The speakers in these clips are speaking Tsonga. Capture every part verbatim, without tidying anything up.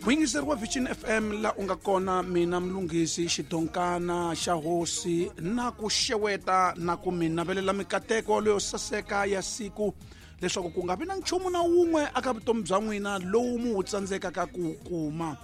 Muyingiseri wa Vision F M la u nga kona, mina Mlungisi Xidonkana xa hosi na ku xeweta na ku mi navelela mikateko leyo saseka ya siku, leswaku ku nga vi na nchumu na wun'we aka vutomi bya n'wina lowu mu wu tsandzekaka ku kuma.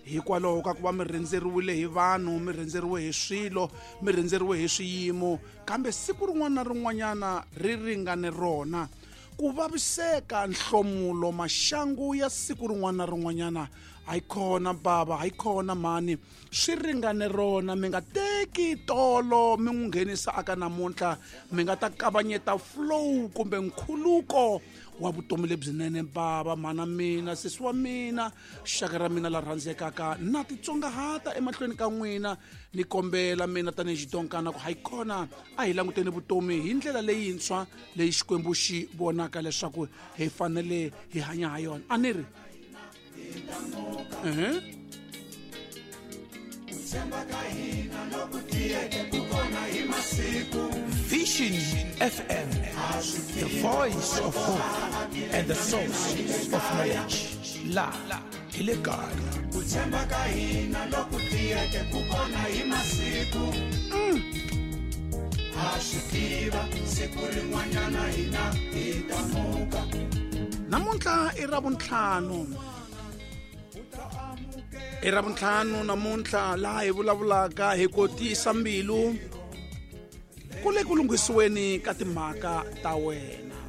Hikwalaho ka ku va mi rhendzeriwile hi vanhu, mi rhendzeriwe hi swilo, mi rhendzeriwe hi swiyimo, kambe siku rin'wana na rin'wanyana ri ringane rona. Ku vaviseka, nhlomulo, maxangu ya siku rin'wana na rin'wanyana, hayi khona baba, hayi khona mhani, swi ringane rona. Mi nga teki tolo mi n'wi nghenisa aka namuntlha, mi nga ta kavanyeta flow kumbe nkhuluko wa vutomi lebyinene. Baba, mhana mina, sesi wa mina, xaka ra mina la rhandzekaka, na titsongahata emahlweni ka n'wina, ni kombela mina tanihi Xidonkana ku hayi khona a hi languteni vutomi hi ndlela leyintshwa leyi Xikwembu xi vonaka leswaku hi fanele hi hanya ha yona. A ni ri Uh-huh. Vision F M, the voice of hope and the source of knowledge. La hi le kaya. Ku tshemba ka hina loku tiyeke ku kona hi masiku. Ha swi tiva siku rin'wanyana hina hi ta muka. Namuntlha i Ravuntlhanu. I Ravuntlhanu namuntlha laha hi vulavulaka hi ku tiyisa mbilu ku le ku lunghisiweni ka timhaka ta wena.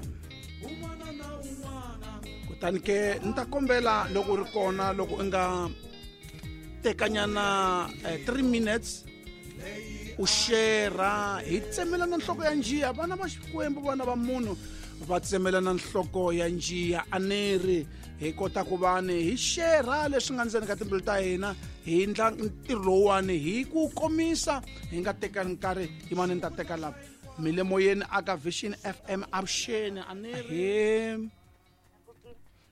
Kutani ke ni ta kombela loko u ri kona, loko u nga tekanyana three minutes u share, hi tsemelana nhloko ya njiya. Vana va Xikwembu, vana va munhu va tsemelana nhloko ya njiya. A ni ri hi kota ku va ni hi share leswi nga ndzeni ka timbilu ta hina, hi endla ntirho lowuwani hi ku komisa, hi nga tekani nkarhi. Yimani ni ta teka lava mi le moyeni aka Vision F M avuxeni. A ni ri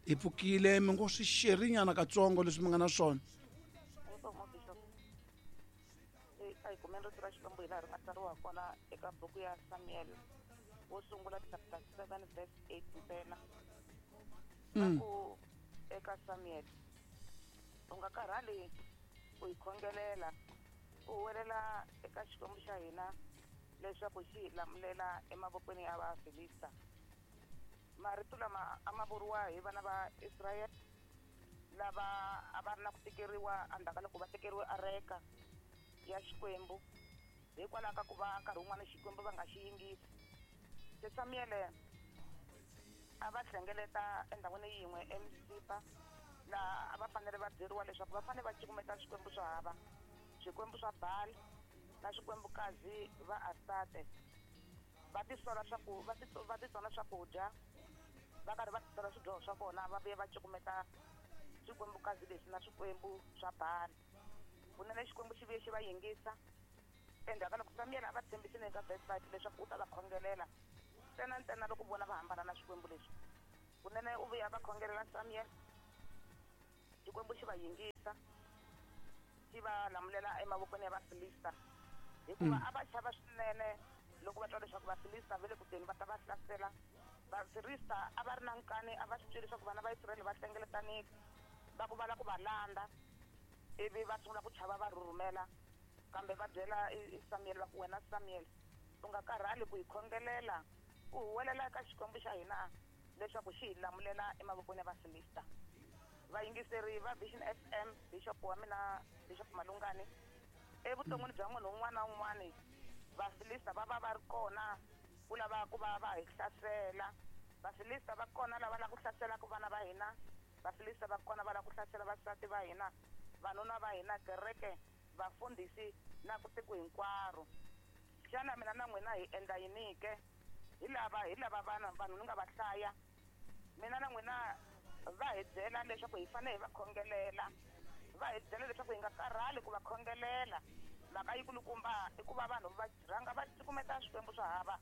hi pfukile, mi ngo swi sherinyana katsongo leswi mi nga na swona. A hi kumeni rito ra Xikwembu hi laha ri nga tsariwa kona eka buku ya Samuel wo sungula chapter seven verse eight ntsena. Ku eka Samuel, u nga karhali ku hi khongelela, u huwelela eka Xikwembu xa hina leswaku xi hi lamulela emavokweni ya Vafilista. Marito lama a ma vuriwa hi vana va Israyele lava a va ri na ku tekeriwa endzhaku ka loko va tekeriwe areka ya Xikwembu, hikwalaho ka ku va nkarhi wun'wana Xikwembu va nga xi yingisi. Se Samuele a va hlengeleta endhawini yin'we eMisipa, laha a va fanele va byeriwa leswaku va fanele va cukumeta swikwembu swa hava, swikwembu swa Baal na swikwembukazi va Astate. Va tisola swaku va va titsona swakudya, va karhi va tisola swidyoho swa vona, va vuya va cukumeta swikwembukazi leswi na swikwembu swa Baal. Kunene Xikwembu xi vuye xi va yingisa. Endzhaku ka loko Samuel a va tshembisile eka verse five leswaku u ta va khongelela ntsena ntsena loko vona va hambana na swikwembu leswi, kunene u vuya va khongelela Samuel, Xikwembu xi va yingisa, xi va lamulela emavokweni ya Vafilista, hikuva a va chava swinene loko va twa leswaku Vafilista va le ku teni va ta va hlasela. Vafilista a va ri na nkani, a va swi twile leswaku vana va Israyele va hlengeletanile, va ku va lava ku va landza, ivi va sungula ku chava va rhurhumela. Kambe va byela Samuel va ku, wena Samuel, u nga karhali ku hi khongelela, u huwelela eka Xikwembu xa hina leswaku xi hi lamulela emavokweni ya Vafilista. Vayingiseri va Vision F M, Bishop wa mina Bishop Malungani, evuton'wini bya munhu un'wana na un'wana Vafilista va va va ri kona ku lava ku va va hi hlasela. Vafilista va kona lava lava ku hlaselaka vana va hina, Vafilista va kona va lava ku hlasela vasati va hina, vanuna va hina, kereke, vafundhisi na ku tiko hinkwaro. Xana mina na n'wina hi endla yini ke? Hi lava hi lava vana vanhu ni nga va hlaya. Mina na n'wina va hi byela leswaku hi fanele hi va khongelela, va hi byela leswaku hi nga karhali ku va khongelela. Mhaka yikulukumba i ku va vanhu va rhanga va cukumeta swikwembu swa hava,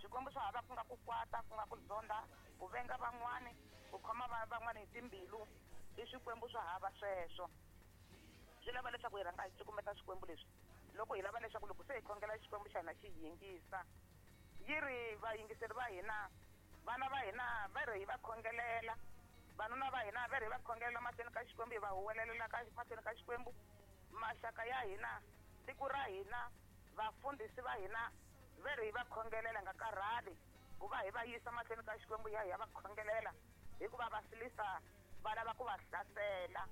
swikwembu swa hava ku nga ku kwata, ku nga ku zonda, ku venga van'wani, ku khoma van'wani hi timbilu, i swikwembu swa hava sweswo. Swi lava leswaku hi rhanga hi cukumeta swikwembu leswi loko hi lava leswaku loko se hi khongela Xikwembu xa hina xi hi yingisa. Yi ri vayingiseri va hina, vana va hina va ri hi va khongelela, Vanuna va hina va ri va khongelela mahlweni ka Xikwembu, hi va huwelela ka mahlweni ka Xikwembu. Maxaka ya hina, tiko ra hina, vafundhisi va hina va ri va khongelela nga karhali ku va hi va yisa mahlweni ka Xikwembu, ya hi ya va khongelela hikuva Vafilista va lava ku va hlasela.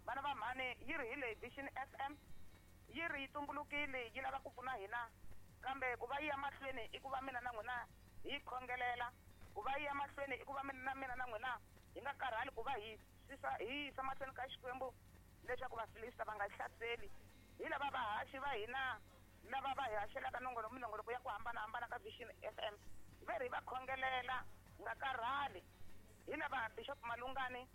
Vana va mhani, yi ri hi leyi Vision F M yi ri yi tumbulukile yi lava ku pfuna hina, kambe ku va yi ya mahlweni i ku va mina na n'wina hi khongelela, ku va yi ya mahlweni i ku va mina na mina na n'wina hi nga karhali ku va hi hi yisa mahlweni ka Xikwembu leswaku Vafilista va nga hlaseli. Hi lava vahaxi va hina lava va hi haxelaka nongoloko minongoloko ya ku hambanahambana ka Vision F M ve ri va khongelela nga karhali. Hi lava Bishop Malungani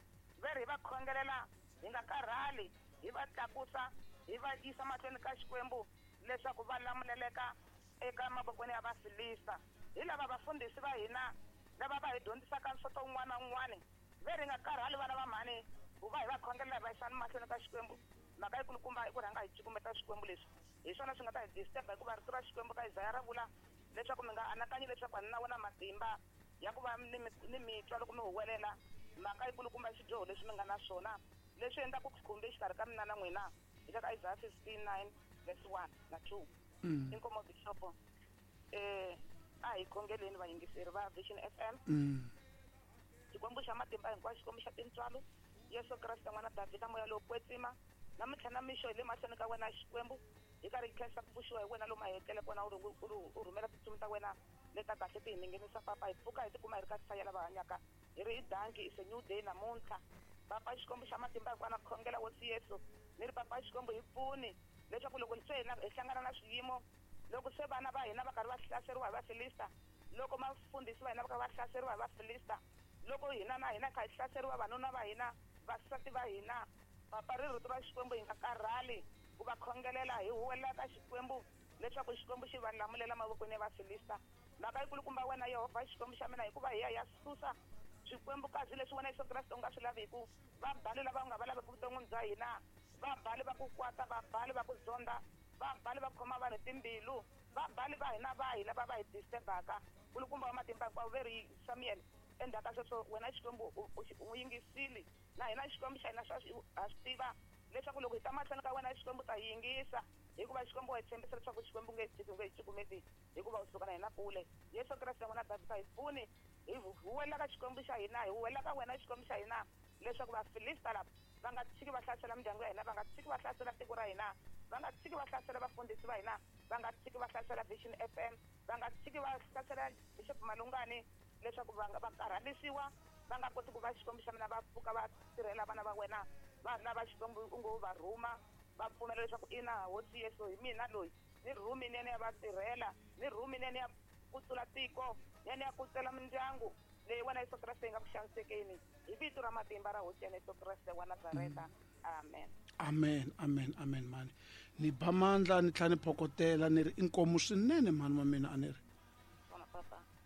ve ri va khongelela hi nga karhali, hi va tlakusa hi va yisa mahlweni ka Xikwembu leswaku va lamuleleka eka mavokweni ya Vafilista. Hi lava vafundhisi va hina lava va hi dyondzisaka nsoto wun'wana na wun'wana ve ri nga karhali vana va mhani ku va hi va khongelela hi va yisani mahlweni ka Xikwembu. Mhaka yikulukumba i ku rhanga hi cukumeta Xikwembu leswi hi swona swi nga ta hi disturb, hikuva rito ra Xikwembu ka Isaya ra vula leswaku mi nga anakanyi leswaku a ni na wona matimba ya ku va ni ni mitwa loko mi huwelela. Mhaka yikulukumba i swidyoho leswi mi nga na swona leswi endlaku khumbi exikarhi ka mina na n'wina, hi le ka Isaya fifty-nine verse one na two. Inkomo Bishop, eh a hi khongeleni vayingiseri va Vision F M. Xikwembu xa matimba hinkwayo, Xikwembu xa tintswalo, Yesu Kreste n'wana Davhida, moya lowo kwetsima, namuntlha na mixo hi le mahlweni ka wena Xikwembu, hi karhi hi khensa ku pfuxiwa hi wena lomu a hi etlele kona, u rhumela tintsumi ta wena leta kahle ti hi ninginisa papa, hi pfuka hi tikuma hi ri ka hlaya lava hanyaka, hi ri hi danki, is a new day namuntlha. Papa Xikwembu xa matimba hinkwayo, na khongela hosi Yesu ni ri papa Xikwembu hi pfuni leswaku loko se hina hi hlangana na swiyimo, loko se vana va hina va karhi va hlaseriwa hi Vafilista, loko mafundhisi va hina va karhi va hlaseriwa hi Vafilista, loko hina na hina kha hi hlaseriwa vanuna va hina, vasati va hina, papa ri rito ra Xikwembu hi nga karhali ku va khongelela, hi huwelela ka Xikwembu leswaku Xikwembu xi va lamulela mavokweni ya Vafilista. Mhaka yikulukumba wena Yehovha Xikwembu xa mina, hikuva hi ya hi ya susa swikwembukazi leswi wena Yesu Kreste u nga swi laviku, vabali lava u nga va laveki vuton'wini bya hina, vabali va ku kwata, vabali va ku zonda, vabali va khoma vanhu timbilu, vabali va hina va hi lava va hi disturbaka. Kulukumba wa matimba hinkwawo, ve ri Samuel endzhaku ka sweswo wena Xikwembu u yingisile, na hina Xikwembu xa hina ha swi tiva leswaku loko hi ta mahlweni ka wena Xikwembu ta yingisa, hikuva Xikwembu wa hi tshembisa leswaku Xikwembu nge tshiki, nge hi cukumeti, hikuva u suka na hina kule. Yesu Kreste n'wana Davhida, hi pfuni hi huwelela ka Xikwembu xa hina, hi huwelela ka wena Xikwembu xa hina leswaku Vafilista lava va nga tshiki va hlasela mindyangu ya hina, va nga tshiki va hlasela tiko ra hina, va nga tshiki va hlasela vafundhisi va hina, va nga tshiki va hlasela Vision F M, va nga tshiki va hlasela Bishop Malungani, leswaku va va karhalisiwa, va nga koti ku va Xikwembu xa mina va pfuka va tirhela vana va wena, vanhu lava Xikwembu u ngo va rhuma, va pfumela leswaku ina hosi Yesu hi mina loyi ni rhumi ni ya va tirhela, ni rhumi ni ya kutsula tiko, ni ya kutsela mindyangu leyi wena Yesu Kreste yi nga ku xanisekeni, hi vito ra matimba ra hosi ya Yesu Kreste wa Nazareta. Amen. Amen, amen, amen mani. Ni ba mandla ni tlhela ni phokotela ni ri inkomu swinene mhani wa mina a ni ri.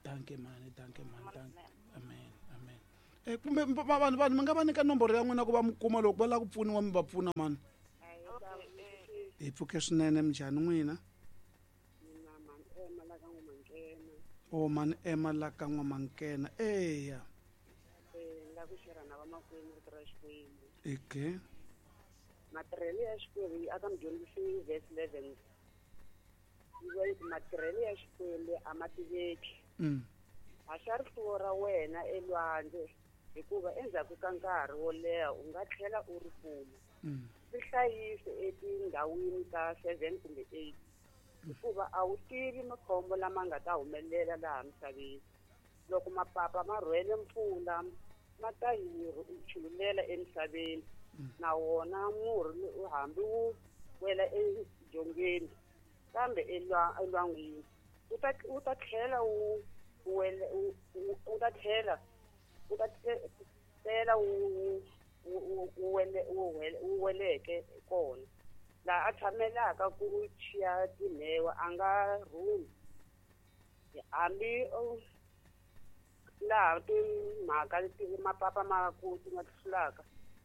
Danke mani, danke mani, danke. Amen, amen. Eh kumbe vanhu vanhu mi nga va nyika nomboro ya n'wina ku va mi kuma loko va lava ku pfuniwa mi va pfuna mani. Hi pfuke swinene, minjhani n'wina? O mani ema la ka N'wamankena. Eya. Eh la ku xera na vamakwenu rito ra Xikwembu. Okay. Matirhelo ya Xikwembu aka mudyondzisi verse eleven. Yi ku matirhelo ya Xikwembu a ma tiveki. Mm. Haxa rifuwo ra wena elwandle hikuva endzhaku ka nkarhi wo leha u nga tlhela u ri kuma. Mm. Ri hlayise etindhawini ta seven kumbe eight. Hikuva a wu tivi makhombo lama nga ta humelela laha misaveni. Loko mapapa ma rhwele mpfula ma ta yi chululela emisaveni, na wona murhi hambi wu wela edzongeni kambe elwangwini wu ta wu ta tlhela wu wela wu ta tlhela wu ta tlhela wu wu wu weleke kona. Laha a tshamelaka ku chiya timhewa a nga rhumi, hambi laha timhaka mapapa ma ku ti nga hlulaka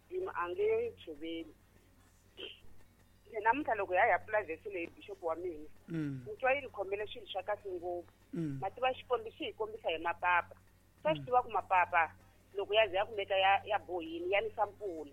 yima a nge tshoveli. Namuntlha loko ya ya pfula vhesi leyi bishop wa mina ni twa yi ni khomele swilo swa kahle ngopfu. Ma tiva Xikwembu xi hi kombisa hi mapapa, swa swi tiva ku mapapa Loko ya ze ya kumeka ya ya bohini ya nisa mpfula.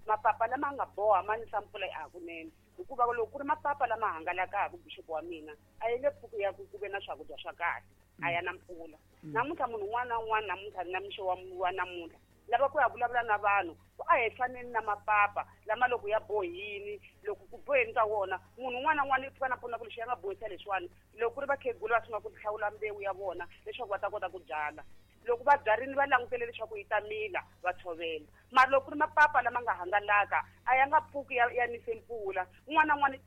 Mapapa lama nga boha ma nisa mpfula hakunene. Hikuva loko ku ri mapapa lama hangalakaka bishop wa mina a yi le pfuki ya ku ku ve na swakudya swa kahle a ya na mpfula. Namuntlha munhu un'wana na un'wana namuntlha na mixo wa wa namuntlha lava ku ya vulavula na vanhu ku a hi faneni na mapapa lama loko ya bohini loko ku boheni ka wona munhu un'wana na un'wana i pfuka na pfuna ku lexi ya nga bohisa leswiwani loko ku ri vakhegula va sungula ku hlawula mbewu ya vona leswaku va ta kota ku byala. Loko va byarini va langutele leswaku yi ta mila va tshovela. Mara loko ku ri mapapa lama nga hangalaka a ya nga pfuki ya ya nise mpfula. Un'wana na un'wana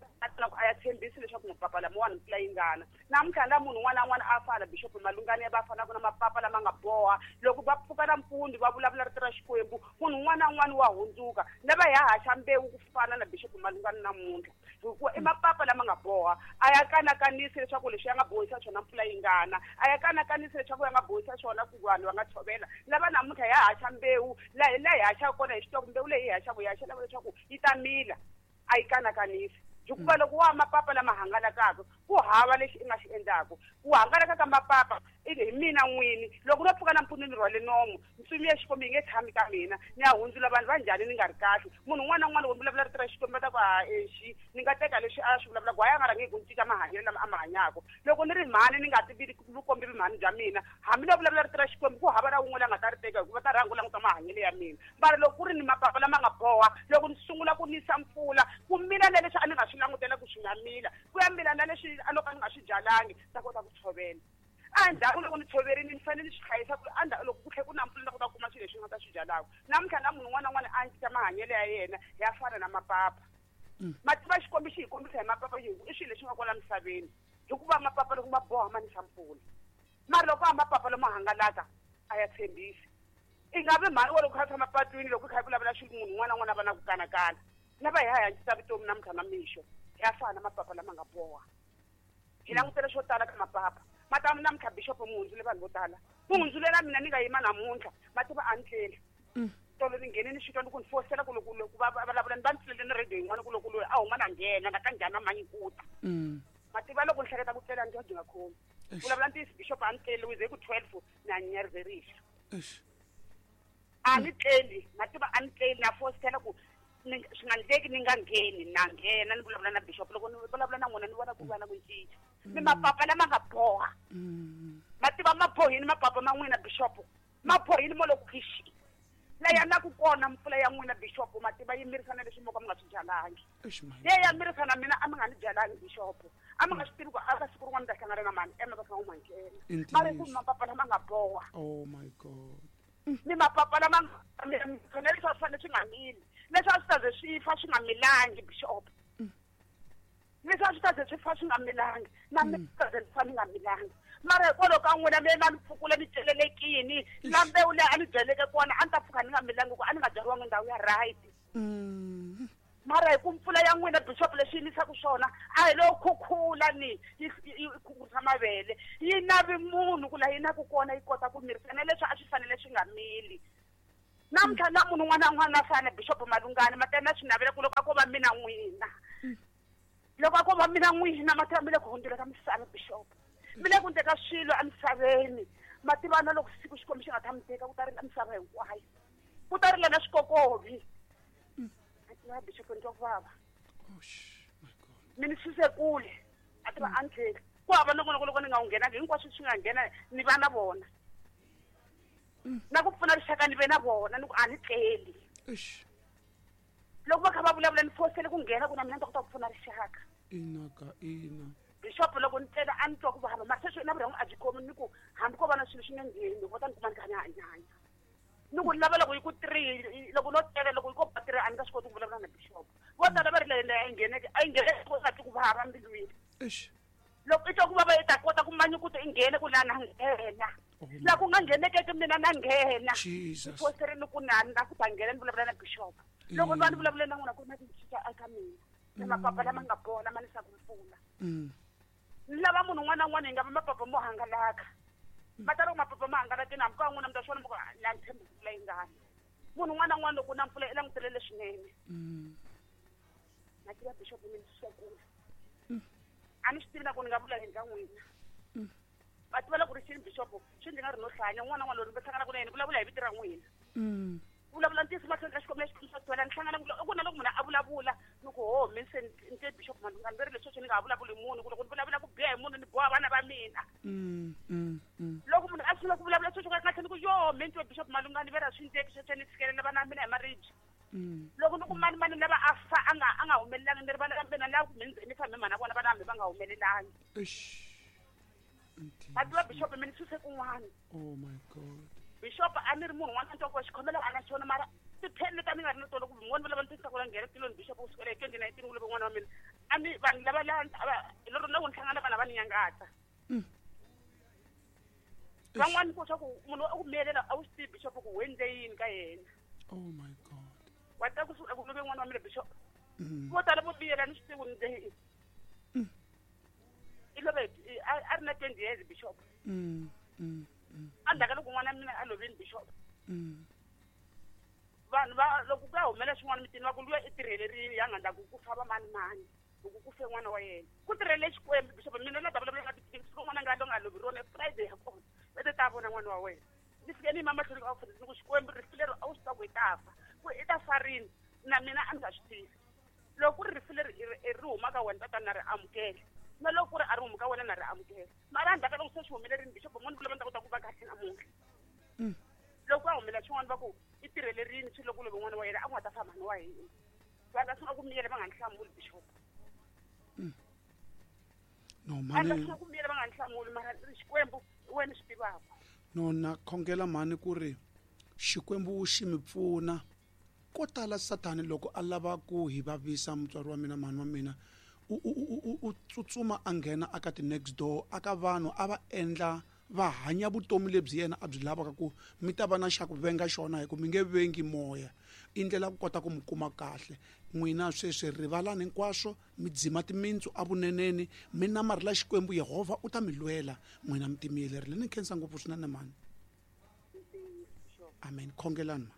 a ya tshembisi leswaku mapapa lamawani mpfula yi ngana. Namuntlha la munhu un'wana na un'wana a fana Bishop Malungani ya va fanaka na mapapa lama nga boha loko va pfuka nampundzu va vulavula rito ra Xikwembu munhu un'wana na un'wana wa hundzuka lava ya haxa mbewu ku fana na Bishop Malungani namuntlha. Hikuva i mapapa lama nga boha a ya kanakanisi leswaku leswi ya nga bohisa swona mpfula yi ngana a ya kanakanisi leswaku ya nga bohisa swona ku vanhu va nga tshovela. Lava namuntlha ya haxa mbewu laha laha hi haxaka kona hi swi tiva ku mbewu leyi hi haxaka hi haxa lava leswaku yi ta mila a yi kanakanisi. Hikuva loko wa mapapa lama hangalakaka ku hava lexi i nga xi endlaku. Ku hangalaka ka mapapa i hi mina n'wini loko no pfuka nampundzu ni rhwale nomu ntsumi ya Xikwembu yi nge tshami ka mina ni ya hundzula vanhu va njhani ni nga ri kahle. Munhu un'wana na un'wana loko ni vulavula rito ra Xikwembu va ta ku ha exi ni nga teka leswi a swi vulavulaka hayi a nga rhangi hi ku ni cinca mahanyelo lama a ma hanyaka. Loko ni ri mhani ni nga tivi vukombi vumhani bya mina hambi no vulavula rito ra Xikwembu ku hava na wun'we la nga ta ri teka hikuva ta rhanga ku languta mahanyelo ya mina. Mara loko ku ri ni mapapa lama nga boha loko ni sungula ku nisa mpfula ku mila na leswi a ni nga swi langutela ku swi nga mila ku ya mila na leswi a loko a ni nga swi byalangi ta kota ku tshovela. Endzhaku loko ni tshoverini ni fanele ni swi hlayisa ku endzhaku loko ku tlhela ku na mpfula ni ta kota ku kuma swilo leswi ni nga ta swi byalaka. Namuntlha na munhu un'wana na un'wana a cinca mahanyelo ya yena ya fana na mapapa. Mativa Xikwembu xi hi kombisa hi mapapa hi i swilo leswi nga kwala misaveni hikuva mapapa loko ma boha ma nisa mpfula. Mara loko a mapapa lama hangalaka a ya tshembisi. I nga vi mhani wa loko kha tshama patwini loko kha vulavula swilo munhu un'wana na un'wana a va na ku kanakana. Lava hi ha cinca vutomi namuntlha na mixo ya fana na mapapa lama nga boha. Hi langutele swo tala ka mapapa. Mata namuntlha Bishop mu hundzule vanhu vo tala. Mu hundzulela mina ni nga yima namuntlha mativa a ni tlela. Tolo ni nghene ni swi twa ni ku ni fosela ku loko loko va vulavula ni va ni tlele ni radio yin'wana ku loko loyi a huma na nghena na ka njhani manyikuta. Mativa loko ni hleketa ku tlela ni twa byi nga khomi. Vulavula ntiyiso Bishop a ni tleli wize ku twelve na nyarzerisha. A ni tleli mativa a ni tleli na fosela ku swi nga ndleki ni nga ngheni na nghena ni vulavula na Bishop loko ni vulavula na n'wina ni vona ku va na ku cinca. Ni mapapa lama nga boha. Mativa ma bohini mapapa ma n'wina Bishop. Ma bohini mo loko khixi. Laya na ku kona mpfula ya n'wina Bishop mativa yi mirisana leswi mo ka mi nga swi byalangi. Leyi ya mirisana mina a mi nga ni byalangi Bishop. A mi nga swi tivi ku a ka siku rin'wana ni ta hlangana na mani ema va kha u manghena. Mara ku mapapa lama nga boha. Oh my God. Ni mapapa lama nga mina leswi a swi fanele swi nga mili. Leswi a swi ta ze swi fa swi nga milangi Bishop. Leswi a swi ta ze swi fa swi nga milangi na mina swi ta ze fa ni nga milangi. Mara hikwalaho ka n'wina mi na ni pfukula ni celelekini la mbewu leyi a ni byaleke kona a ni ta pfuka ni nga milangi ku a ni nga byariwangi ndhawu ya right. Mara hi ku mpfula ya n'wina Bishop leswi yi nisaka swona a hi lo khukhula ni yi khukhurisa mavele yi navi munhu ku laha yi naku kona yi kota ku mirisa na leswi a swi fanele swi nga mili. Namuntlha na munhu un'wana na un'wana a fana Bishop Malungani matena swi navela ku loko a ko va mina n'wina. Loko a ko va mina n'wina mativa mi le ku hundzula ka misava Bishop. Mi le ku teka swilo emisaveni mativa na loko siku Xikwembu xi nga ta mi teka ku ta rila misava hinkwayo. Ku ta rila na swikokovi. Na Bishop ni twa ku vava. Mi ni suse kule a tiva a ni tleli. Ku hava nongonoko loko ni nga wu nghenangi hinkwaswo swi nga nghena ni va na vona. Na ku pfuna rixaka ni ve na vona ni ku a ni tleli. Loko va kha va vulavula ni fosele ku nghena ku na mina ni ta kota ku pfuna rixaka. Ina ka ina. Bishop loko ni tlela a ni twa ku vava mara sweswi na vurhongo a byi khomi ni ku hambi ko va na swilo swi nga ngheni vo ta ni kuma ni kha ni hanyanya. Ni ku lava loko yi ku three loko no tlela loko yi ko ba three a ni nga swi koti ku vulavula na Bishop. Vo tala va ri leyi a yi ngheneke a yi ngheneke ku nga twi ku vava mbilwini. Loko i twa ku vava i ta kota ku manyukuta i nghene ku laha na nghena. La ku nga nghenekeki mina na nghena. Ni fosele ni ku na na ku ta nghena ni vulavula na Bishop. Loko ni va ni vulavula na n'wina ku na ku cinca eka mina. Ni mapapa lama nga boha lama nisaka mpfula. Ni lava munhu un'wana na un'wana hi nga va mapapa mo hangalaka. Ma ta loko mapapa ma hangalakini hambi ka n'wina mi ta swi vona mi ku la ni tshembi mpfula yi ngana. Munhu un'wana na un'wana loko na mpfula i langutele leswinene. Na tiva Bishop mi ni suse kule. A ni swi tivi na ku ni nga vula yini ka n'wina. Va tiva loko ri xini bishop swi ndzi nga ri no hlanya n'wana n'wana loyi ni hlangana ku na yena vulavula hi vito ra n'wina. Vulavula ntiyiso mahlweni ka Xikwembu lexi xa twela ni hlangana ku na loko munhu a vulavula ni ku ho mi se ni te bishop Malungani ve ri leswi ni nga ha vulavuli munhu ku loko ni vulavula ku biha hi munhu ni boha vana va mina. Loko munhu a sungula ku vulavula sweswo ka kahle ni ku yo mi ni twe bishop Malungani ve ra swi ndleki sweswo ni tshikelela vana va mina hi maribye. Loko ni ku mani mani lava a fa a nga a nga humelelangi ni ri vana va mina lava ku mi ni fambe mhana vona vana hambi va nga humelelangi. Va tiva bishop mi ni suse kun'wana. Oh my God. Bishop a ni ri munhu n'wana a twa ku xikhomelo a na xona mara tipheni leti a ni nga ri na tona ku n'wana va lava ni tisa ku la nghena tilweni bishop ku sukela hi twenty nineteen ku love n'wana wa mina a ni vanhu lava la lero na ku ni hlangana vanhu va ni nyangatsa. Van'wani ku swa ku munhu a ku miyelela a wu swi tivi bishop ku u endle yini ka yena. Oh my God. Wa ta ku suka ku love n'wana wa mina bishop. Vo tala vo miyela ni swi tivi ku ni endle yini. I love a ri na twenty years bishop. Endzhaku ka loko n'wana wa mina a lovile bishop. Vanhu va loko ku ya humela swin'wana mitini va ku luya i tirhelerile ya nga ndla ku ku fa va mani mani loko ku fe n'wana wa yena. Ku tirhele Xikwembu bishop mina na ta vulavula nga titiki n'wana nga lo nga lovi rona Friday ya kona va te ta vona n'wana wa wena. Ni fike ni yima mahlweni ka vafundhisi ni ku Xikwembu rifu leri a wu swi tiva ku i ta fa ku i ta fa rini na mina a ni nga swi tivi. Loko ku ri rifu leri ri huma ka wena tatana na ri amukela. Na loko ku ri a ri humi ka wena na ri amukela. Mara endzhaku ka loko se swi humelerile bishop n'wana vula va ni ta kota ku va kahle namuntlha. Loko a humela swin'wana va ku i tirhelerile swi loko love n'wana wa yena a ku nga ta fa mhani wa hina. Vanhu va sungula ku miyela va nga ni hlamuli bishop. No mhani. Va sungula ku miyela va nga ni hlamuli mara Xikwembu wena swi tivaka. No na khongela mhani ku ri Xikwembu xi mi pfuna. Ko tala Sathani loko a lava ku hi vavisa mutswari wa mina mhani wa mina u u u tsutsuma a nghena aka ti next door aka vanhu a va endla va hanya vutomi lebyi yena a byi lavaka ku mi ta va na xa ku venga xona hi ku mi nge vengi moya i ndlela ku kota ku mi kuma kahle. N'wina sweswi rivalani hinkwaswo mi dzima timintsu evuneneni mi namarhela Xikwembu Yehovha u ta mi lwela n'wina mi timiyelerile. Ni khensa ngopfu swinene mhani. Amen. Khongelani ma.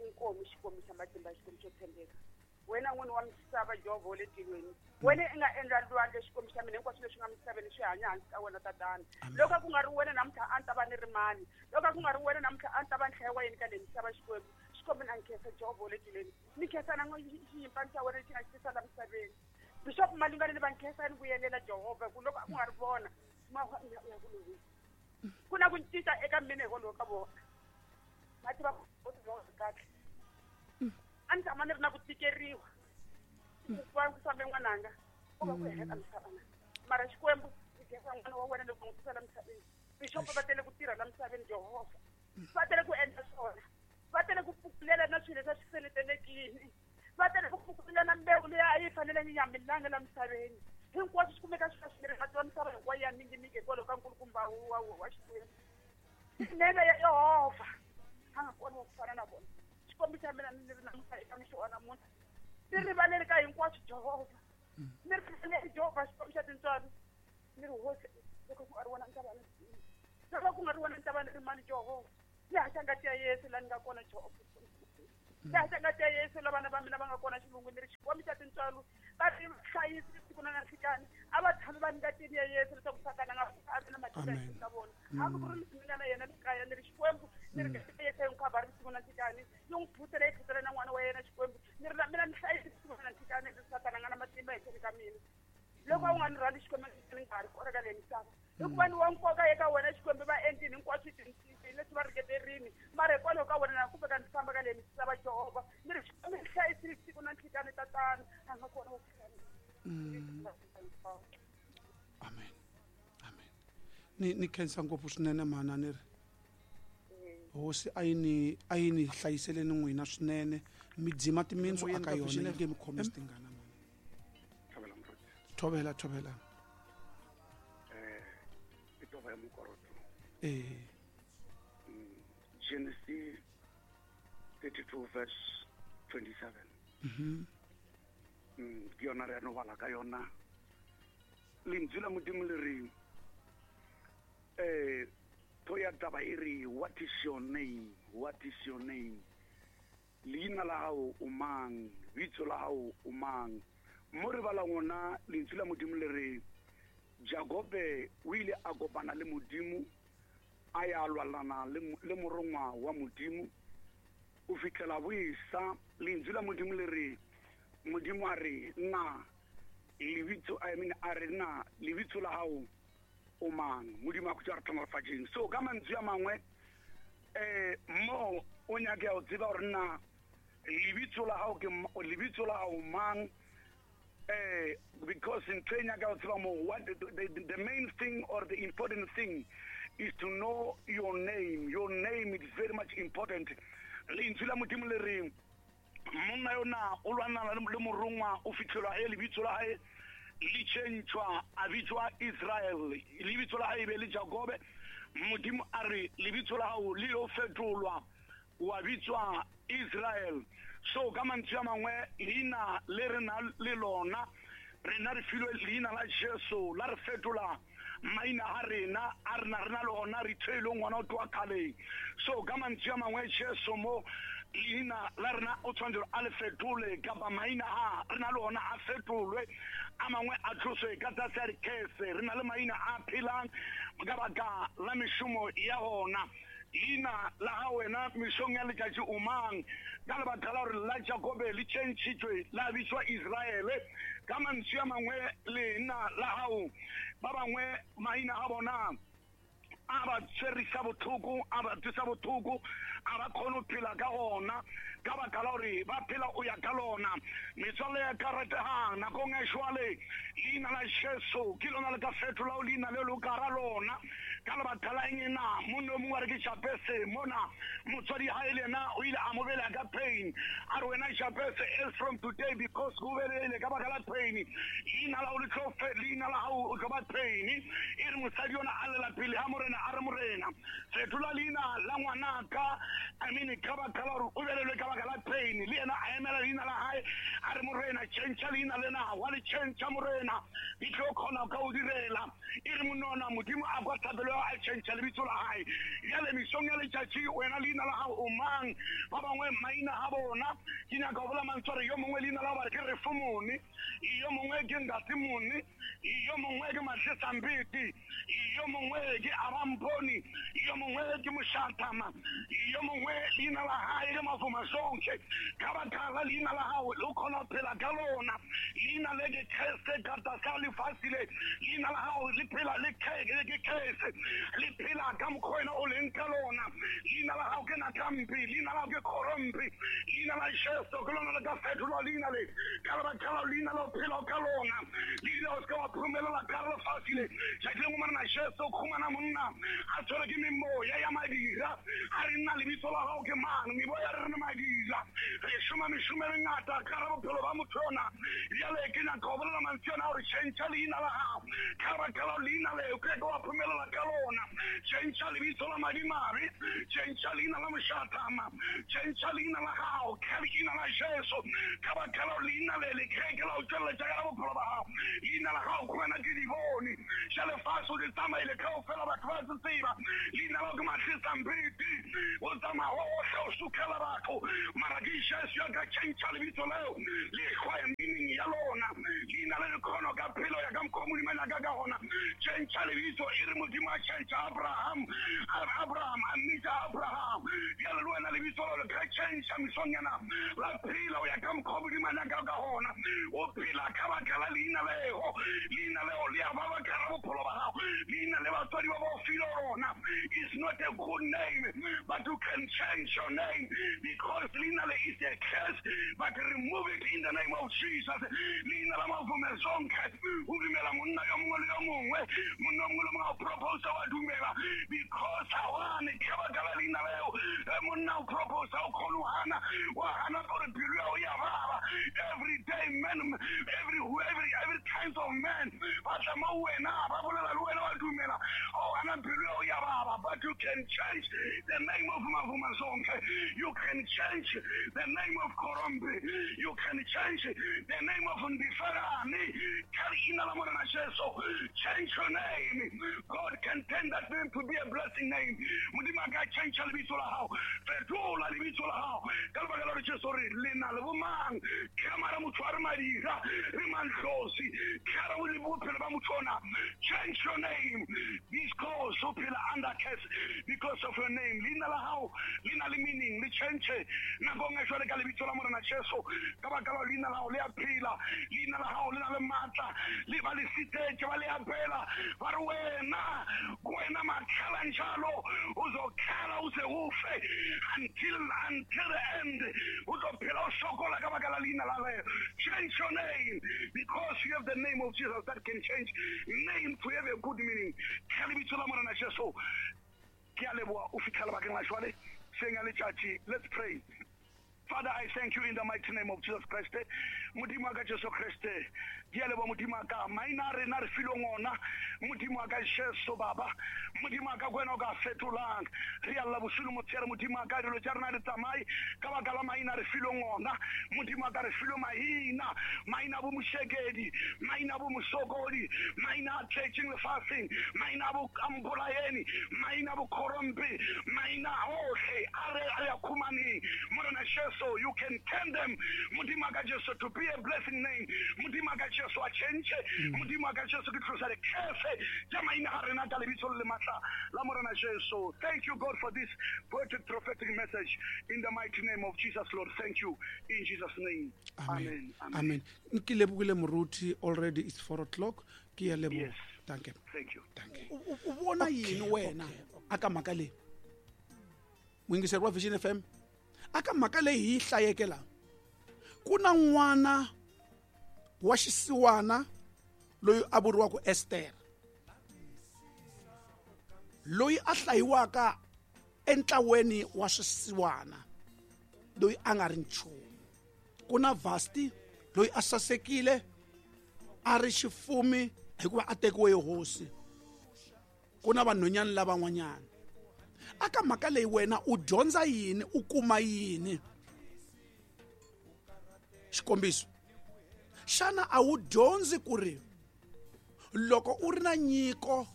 Inkomu Xikwembu xa matimba Xikwembu xo tshembeka. Wena n'wini wa misava Jehovha wa le tilweni. Wena i nga endla lwandle Xikwembu xa mina hinkwaswo leswi nga misaveni swi hanya hansi ka wena tatana. Loko a ku nga ri wena namuntlha a ni ta va ni ri mani. Loko a ku nga ri wena namuntlha a ni ta va ni hlayiwa yini ka leyi misava Xikwembu. Xikwembu na nkhensa Jehovha wa le tilweni. Ni khensa na xinyimpfana xa wena lexi nga xi tisa la misaveni. Bishop Malungani ni va nkhensa ni vuyelela Jehovha ku loko a ku nga ri vona ya ku lovisa. Ku na ku cinca eka mina hikwalaho ka vona. Va tiva ku kahle. A ni tshama ni ri na ku tikeriwa. Ku va ku fambe n'wananga ku va ku hela ka misava na. Mara Xikwembu xi khensa n'wana wa wena loko n'wi tisa la misaveni. Bishop va tele ku tirha la misaveni Jehovha. Va tele ku endla swona. Va tele ku pfukulela na swilo leswi a swi seletelekile. Va tele ku pfukulela na mbewu leyi a yi fanele yi nga milanga la misaveni. Hinkwaswo swi kumeka swi swi ri mati wa misava hinkwayo ya mingimingi hikwalaho ka nkulukumba wa wa Xikwembu. Nene ya Yehovha a nga kona ku fana na vona. Xikwembu xa mina ni ri namuntlha eka mixo wa namuntlha. Ni rivaleli ka hinkwaswo Jehovha. Ni rivaleli Jehovha Xikwembu xa tintswalo. Ni ri hosi loko ku nga ri wena ni ta va ni loko ku nga ri wena ni ta va ni ri mani Jehovha. Ni haxa ngati ya Yesu laha ni nga kona Jehovha. Ni haxa ngati ya Yesu la vana va mina va nga kona xilungwini ni ri Xikwembu xa tintswalo. Va ri hlayisi siku na nhlikani. A va tshami va ngatini ya Yesu leswaku Sathana a nga a vi na matimba ehenhla ka vona. Hambi ku ri mina na yena ni kaya ni ri Xikwembu ni ri ngati ya Yesu yi n'wi khavhari siku na nhlikani. Yi n'wi phutela yi phutela na n'wana wa yena Xikwembu. Ni ri na mina ni hlayisi siku na nhlikani leswi Sathana a nga na matimba ehenhleni ka mina. Loko a wu nga ni rhandzi Xikwembu ni nga ha ri kona ka leyi misava. Hikuva ni wa nkoka eka wena Xikwembu va endlini hinkwaswo leswi va ringeterini. Mara hikwalaho ka wena na kumbe ka ni famba ka leyi misava Jehovha. Ni ri Xikwembu ni hlayisile siku na nhlikani tatana. A nga kona wa ku fana. Amen. Amen. Ni ni khensa ngopfu swinene mhana ni ri hosi a yi ni a yi ni hlayiseleni n'wina swinene mi dzima timintsu aka yona yi nge mi khomisi tingana mhana. Thobela thobela. Eh itova ya mokoroto. Eh Genesis thirty-two verse twenty-seven. Mhm. Mm ke yona re no bala ka yona. Lentswe la Modimo le re eh to ya taba e re what is your name? What is your name? Leina la hao o mang? Bitso la hao o mang? Mo re bala ngona lentswe la Modimo le re Jakobe o ile a kopana le Modimo a ya lwalana le morongwa wa Modimo o fitlhela boisa lentswe la Modimo le re Modimo a re nna lebitso I mean a re nna lebitso la hao o mang Modimo a go tswa re tlhonofatšeng. So ka mantswe a mangwe eh mo o nyaka go tseba gore nna lebitso la hao ke lebitso la hao mang eh because in training nyaka go tseba mo what the, the, the main thing or the important thing is to know your name. Your name is very much important. Lentswe la Modimo le re monna yona o lwana le morongwa o fitlhelwa e lebitso la hae le tšhentšhwa a bitswa Israel lebitso la hae be le Jakobe. Modimo a re lebitso la hao le lo fetolwa wa bitswa Israel. So ka mantswe a mangwe leina le re na le lona rena re filwe leina la Jesu la re fetola maina a rena a rena rena le ona re theileng ngwana o tloa kgaleng. So ka mantswe a mangwe Jesu mo leina la rena o tshwanetse a le fetole kapa maina a rena le ona a fetolwe a mangwe a tloswe ka tlase a dikese. Re na le maina a phelang ka baka la mešomo ya ona. Leina la ga wena mesong ya letšatši o mang ka lebaka la gore la Jakobe le tšhentšhitšwe la bitswa Israele. Ka mantswe a mangwe leina la gago ba bangwe maina a bona a ba tshwerisa botlhoko a ba tsosa botlhoko a ba kgone go phela ka gona ka baka la gore ba phela o ya ka lona. Metswalle ya ka rategang nakong e jwale leina la Jesu ke lona le ka fetolao leina le le ka ra lona ka lebaka la eng na monna o mongwe a re ke Jabese mona motswadi ha e le yena o ile a mo belega ka pain a re wena Jabese is from today because go belegile ka baka la pain leina la o le tlo leina la gago o tlo ba pain. E re mosadi yona a lela pele ga morena a re morena fetola leina la ngwanaka I mean ka baka la gore o belelwe ka baka la pain le yena a emela leina la hae a re morena tšhentšha leina lena wa le tšhentšha morena di tlo kgona ka o direla. E re monona Modimo a kwa thapelo a tšhentšha lebitso la hae. Bjale mesong ya letšatši wena leina la gago o mang ba bangwe maina a bona ke nyaka go bola mantswe a re yo mongwe leina la ba re ke Refomone yo mongwe ke Ntatemone yo mongwe ke Matlesambete yo mongwe ke Abamponi yo mongwe ke Moshatama yo mongwe leina la hae ke Mafumasonke. Ka baka la leina la gago le o kgona go phela ka lona leina le ke Kreste ka tlase lefase le leina la gago le phela le ke Kreste le phela ka mokgwa wena o leng ka lona. Leina la gago ke Nakampi leina la gago ke Khorompi leina la Jesu ke lona le ka fetolwa leina le ka lebaka la leina la o phela ka lona leina o se ka wa phumelela ka lefase le. Tšatši lengwe morena Jesu o khumana monna a tshwere ke memoya ya madira a re nna lebitso la gago ke mang meboya re re madira re šoma mešomo e mengata ka ra bophelo ba motho yona. Bjale ke nyaka go bolela mantswe yona gore tšhentšha leina la gago ka lebaka la leina leo ke ka wa phumelela ka lona. Tšhentšha lebitso la madimabe tšhentšha leina la mošatama tšhentšha leina la gago ka leina la Jesu ka baka la leina le le ke la o tšweletša ka bophelo ba gago. Leina la gago go wena ke dibone tša lefase o di tsamaile kaofela batho ba se tseba leina la ke Matlesambete o tsamaya gohle o sukela batho mara ke Jesu ya ka tšhentšha lebitso leo le hlwaye meaning ya lona leina le le kgono ka phelo ya ka mokgwa Modimo a nyaka ka gona. Tšhentšha lebitso e re Modimo a tšhentšha Abraham Abraham a mmitša Abraham bjale le wena lebitso leo le ka tšhentšha mesong yana la phela o ya ka mokgwa Modimo a nyaka ka gona. O phela ka baka la leina leo leina leo le a baba ka ra bophelo ba gago leina le batswadi ba ba o file lona is not a good name but you can change your name because leina le is a curse but remove it in the name of Jesus. Leina la Mavumezonke o dumela monna yo mongwe le yo mongwe monna yo mongwe le mongwe a o proposa wa dumela because a one ka baka la leina leo monna o proposa o kgone go gana wa gana gore pelo ya o ya baba. Every day man every every every kinds of men ba tla mo wena ba bolela le wena wa dumela o gana pelo ya o ya baba but you can change the name of Mavumazonke. You can change the name of Korombe. You can change the name of Ndifarani. Change your name. God can turn that name to be a blessing name. Modimo a ka tšhentšha lebitso la gago fetola lebitso la gago ka lebaka la gore Jesu re le na le bomang Tlhamara motho a re madira re manhlosi tlhara o le bophelo ba motho ona. Change your name because o phela under curse because of your name. Leina la hao le na le meaning, le change nakong e jwale ka lebitso la Morena Jesu. Ka baka la leina la hao le a phela, leina la hao le na le matla, le ba le sitetse ba le apela ba re wena wena makhala njalo uzokhala uze ufe until until the end. O tlo phela o sokola ka baka la leina la leo. Change your name because you have the name of Jesus that can change name to have a good meaning. Ka lebitso la Morena Jesu ke a leboha o fitlhela bakeng la jwale seng a letšatši. Let's pray. Father, I thank you in the mighty name of Jesus Christ. Modimo wa ka Jesu Christ. Ke a leboha Modimo wa ka maina a rena re fileng ona. Modimo wa ka Jesu Baba. Modimo wa ka ke wena o ka fetolang. Re a lla bosigo motshehare Modimo wa ka dilo tša rena di tsamaye ka baka la maina a re fileng ona. Modimo wa ka re filwe maina, maina a bo mošekedi, maina a bo mosokodi, maina a tletšeng lefaseng, maina a bo Ambolaeni, maina a bo Khorompe, maina ohle a re a ya khumaneng. Morena Jesu, you can turn them, Modimo wa ka Jesu, to be a blessing name. Modimo wa ka Jesu a change. Modimo wa ka Jesu ke tlosa le curse tša maina a rena ka lebitso le matla la Morena Jesu. Thank you, God, for this poetic prophetic message in the mighty name of Jesus, Lord. Thank you in Jesus' name. Amen. Amen. Ke lebogile moruti, already it's four o'clock. Ke a leboha. Yes. Thank you. Thank you. Thank you. O bona yini wena aka mhaka leyi? Muyingiseri wa Vision F M, aka mhaka leyi hi yi hlayeke la, ku na n'wana wa xisiwana loyi a vuriwaka Esther, loyi a hlayiwaka entlaweni wa swisiwana, loyi a nga ri nchumu. Ku na Vasti loyi a sasekile a ri xifumi hikuva a tekiwe hi hosi. Ku na vanhwanyana lavan'wanyana. Aka mhaka leyi wena u dyondza yini, u kuma yini? Xikombiso, xana a wu dyondzi ku ri loko u ri na nyiko,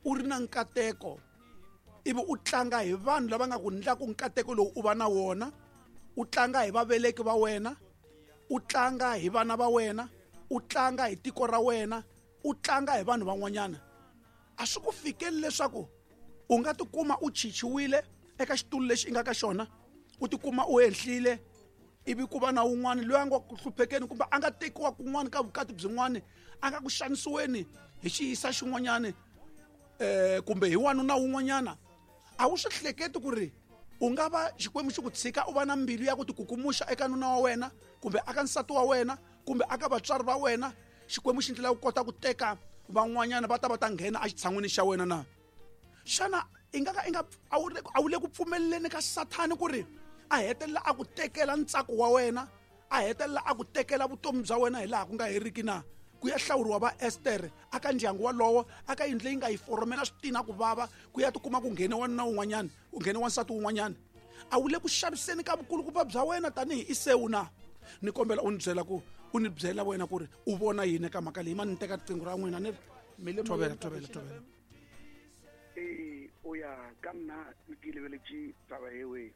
u ri na nkateko, ivi u tlanga hi vanhu lava nga ku ndlaku nkateko lowu u va na wona, u tlanga hi vaveleki va wena, u tlanga hi vana va wena, u tlanga hi tiko ra wena, u tlanga hi vanhu van'wanyana, a swi ku fikeli leswaku u nga tikuma u chichiwile eka xitulu lexi i nga ka xona, u tikuma u henhlile, ivi ku va na wun'wana loyi a nga ku hluphekeni kumbe a nga tekiwa kun'wana ka vukati byin'wana, a nga ku xanisiweni hi xiyisa xin'wanyana eh kumbe hi wanuna wun'wanyana. A wu swi hleketi ku ri u nga va Xikwembu xi ku tshika u va na mbilu ya ku tikukumuxa eka nuna wa wena kumbe aka nsati wa wena kumbe aka vatswari va wena, Xikwembu xi ndlela ku kota ku teka van'wanyana va ta va ta nghena exitshan'wini xa wena na? Xana i nga ka i nga a wu le ku pfumeleleni ka Sathani ku ri a hetelela a ku tekela ntsako wa wena, a hetelela a ku tekela vutomi bya wena hi laha ku nga heriki na? Ku ya hlawuriwa va Esther aka ndyangu walowo, aka yindlu leyi nga yi foromela switina ku vava, ku ya tikuma ku nghene wanuna wun'wanyana, ku nghene wansati wun'wanyana. A wu le ku xaviseni ka vukulukumba bya wena tanihi Isewu na? Ni kombela u ni byela ku u ni byela wena ku ri u vona yini eka mhaka leyi. Ma ni teka riqingho ra n'wina ni ri thobela thobela thobela. Ee, o ya ka nna ke lebeletše taba ewe.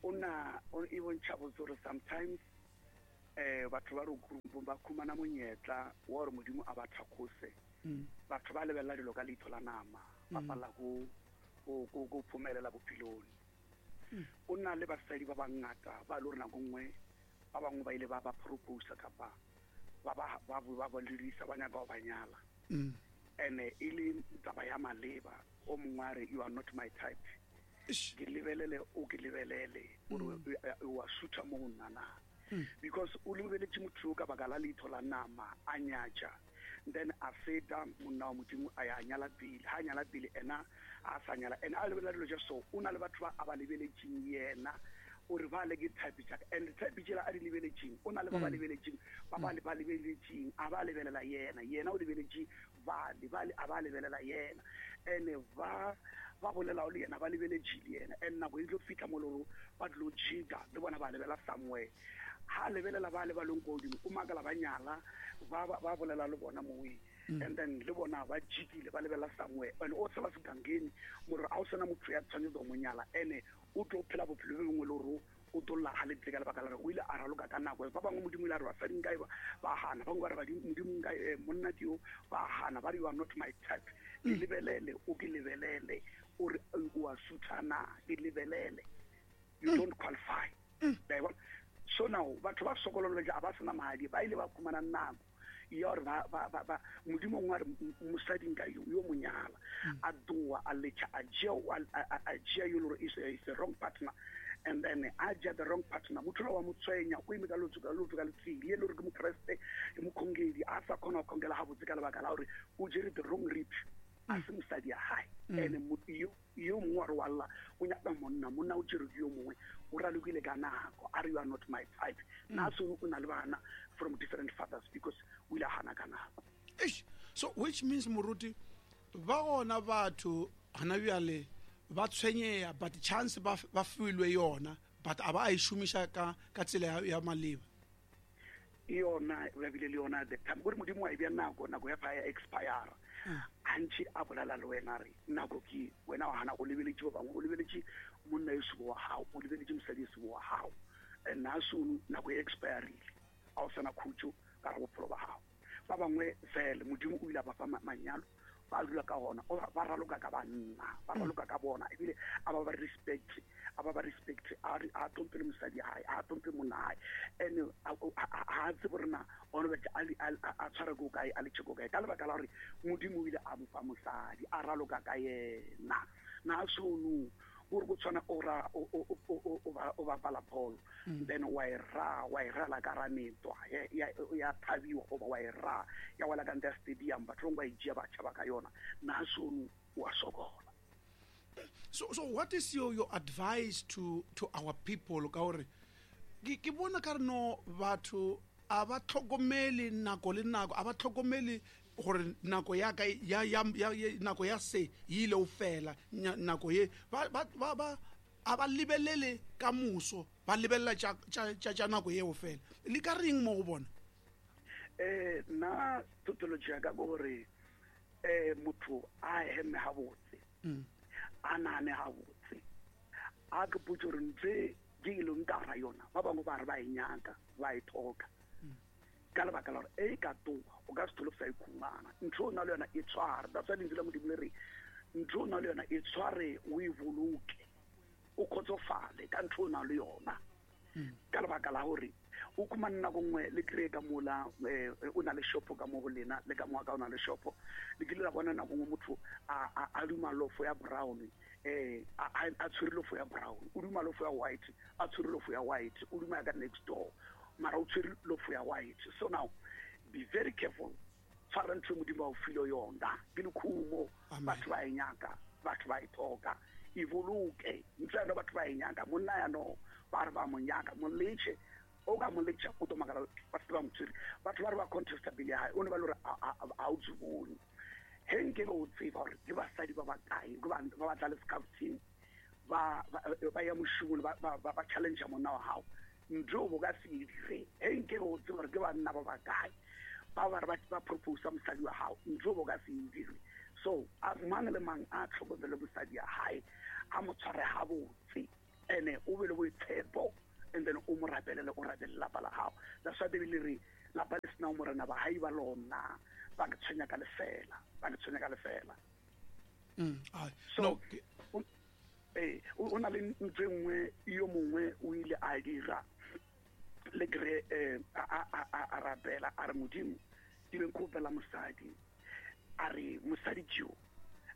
O na e bontšha botse gore sometimes eh batho ba re ba khumana monyetla wa gore Modimo a ba thakgose. Batho ba lebelela dilo ka leitho la nama, ba palla go go go phumelela bophelong. O na le basadi ba bangata ba le gore nako nngwe ba bangwe ba ile ba ba propose kapa ba ba ba ba bolelisa ba nyaka go ba nyala. Ene e le taba ya maleba, o mongwe a re you are not my type. Ke lebelele o ke lebelele gore wa sutha mo go nna na, because o lebeletše motho ka baka la leitho la nama a nyatša, then a feta monna wa Modimo a ya nyala pele. Ha a nyala pele ena a sa nyala, ene a lebelela dilo tša so o na le batho ba a ba lebeletšeng yena o re ba le ke type tša ka, and type tšela a di lebeletšeng o na le ba ba lebeletšeng ba ba ba lebeletšeng a ba lebelela yena, yena o lebeletše ba le ba a ba lebelela yena, and ba ba bolela le yena ba lebeletše le yena, and nako e tlo fihla mo loro ba tlo jika le bona ba lebela somewhere. Ha lebelela ba le ba leng ko godimo o makala ba nyala ba ba bolela le bona mowe, and then le bona ba jikile ba lebela somewhere, and o tseba segangeni more a o sena motho ya tshwanetse go mo nyala, ene o tlo phela bophelo bo bongwe le gore o tlo lla ga le ka lebaka la gore o ile a raloka ka nako ba bangwe modimo ile a re basadi nka ba hana ba bangwe ba re modimo nka monna ke yo ba hana ba re you are not my type ke lebelele o ke lebelele o re o a suthana ke lebelele you don't qualify. So now batho ba sokololo ja ba sena madi ba ile ba khumana nako ya gore ba ba ba modimo ngwa re mosadi nka yo yo monyala a doa a lecha a jea a jea yo lore is is the wrong partner and then a jea the wrong partner motho wa motswenya o ime ka lotso ka lotso ka letsile le re ke mokreste e mokhongedi a sa khona go khongela ha botse ka lebaka la gore o jere the wrong rip a se mosadi ya hae ene yo yo mongwe wa re walla o nyaka monna monna o jere yo mongwe o ralokile ka nako a re you are not my type na so o na le bana from different fathers because o ile hana ka nako. Eish, so which means moruti ba gona batho hana bjale ba tshwenyeya but chance ba ba filwe yona but aba a ishumisha ka ka tsela ya maleba yona ba bile le yona the time gore modimo wa e bya nako nako ya fa ya expire antši a bolala le wena re nako ke wena wa hana o lebeletše ba bangwe o lebeletše monna yo sebo wa gago o lebeletše mosadi yo sebo wa gago and na soon nako e expirile a o sana khutšo ka re bophelo ba gago ba bangwe fele modimo o ile a ba fa manyalo ba dula ka gona ba raloka ka banna ba raloka ka bona ebile a ba ba respect a ba ba respect a a tlhomphe le mosadi hae a tlhomphe monna hae and ha tsebe gore na ona ba a tshware ko kae a letše ko kae ka lebaka la gore modimo o ile a mo fa mosadi a raloka ka yena na sono gore go tshwana o ra o bapala bolo then wa e ra wa e rala ka rametwa ya thabiwa goba wa e ra ya wela ka ntle ya stadium batho bangwe ba e jea ba tšhaba ka yona na sono wa sokola. So so what is your your advice to to our people ka gore ke bona ka re no batho a ba tlhokomele nako le nako a ba tlhokomele gore nako ya ka ya ya nako ya se ile o fela nako ye ba ba ba a ba lebelele ka muso ba lebella tša tša tša nako ye o fela le ka reng mo go bona eh na tautology ya ka gore eh motho a heme ha botse a nane ha botse a ke potse gore ntse ke ile nka ra yona ba bangwe ba re ba e nyaka ba e thoka ka lebaka la gore e ka toa o ka se thole sa ikhumana ntho o na le yona e tshware that's why lentswe la modimo le re ntho o na le yona e tshware o e boloke o kgotsofale ka ntho o na le yona ka lebaka la gore o khumane nako nngwe le kry-e ka mola o na le shopo ka mo go lena le ka moa ka o na le shopo le kile la bona nako nngwe motho a duma lofo ya brown eh a tshwere lofo ya brown o duma lofo ya white a tshwere lofo ya white o duma ya ka next door mara o tshwere lofo ya white. So now be very careful tshwara ntho modimo a o file yona ke lekhumo batho ba e nyaka batho ba e thoka e boloke ntho ya batho ba e nyaka monna ya no ba re ba mo nyaka mo letše o ka mo letša o tomakala ba se ba mo tshwere batho ba re ba contesta bile hae o ne ba le gore a o tsubone he nke o tseba gore ke basadi ba bakae ke ba ba tla le scouting ba ba ya moshomong ba ba challenge monna wa gago ntho bo ka se dire he nke o tseba gore ke banna ba bakae ba ba re ba propose mosadi wa gago ntho bo ka se dire. So a mang le mang a tlhokomele mosadi ya hae a mo tshware ha botse ene o be le boitshepo and then o mo rapelele o rapele lapa la gago. That's why Bibele re lapa le sena morena ba hae ba lona ba ke tshwenya ka lefela ba ke tshwenya ka lefela. Mm ai so no eh o na le ntwe nngwe yo mongwe o ile a dira le kre eh a a a rapela a re modimo ke be nkopela mosadi a re mosadi tšo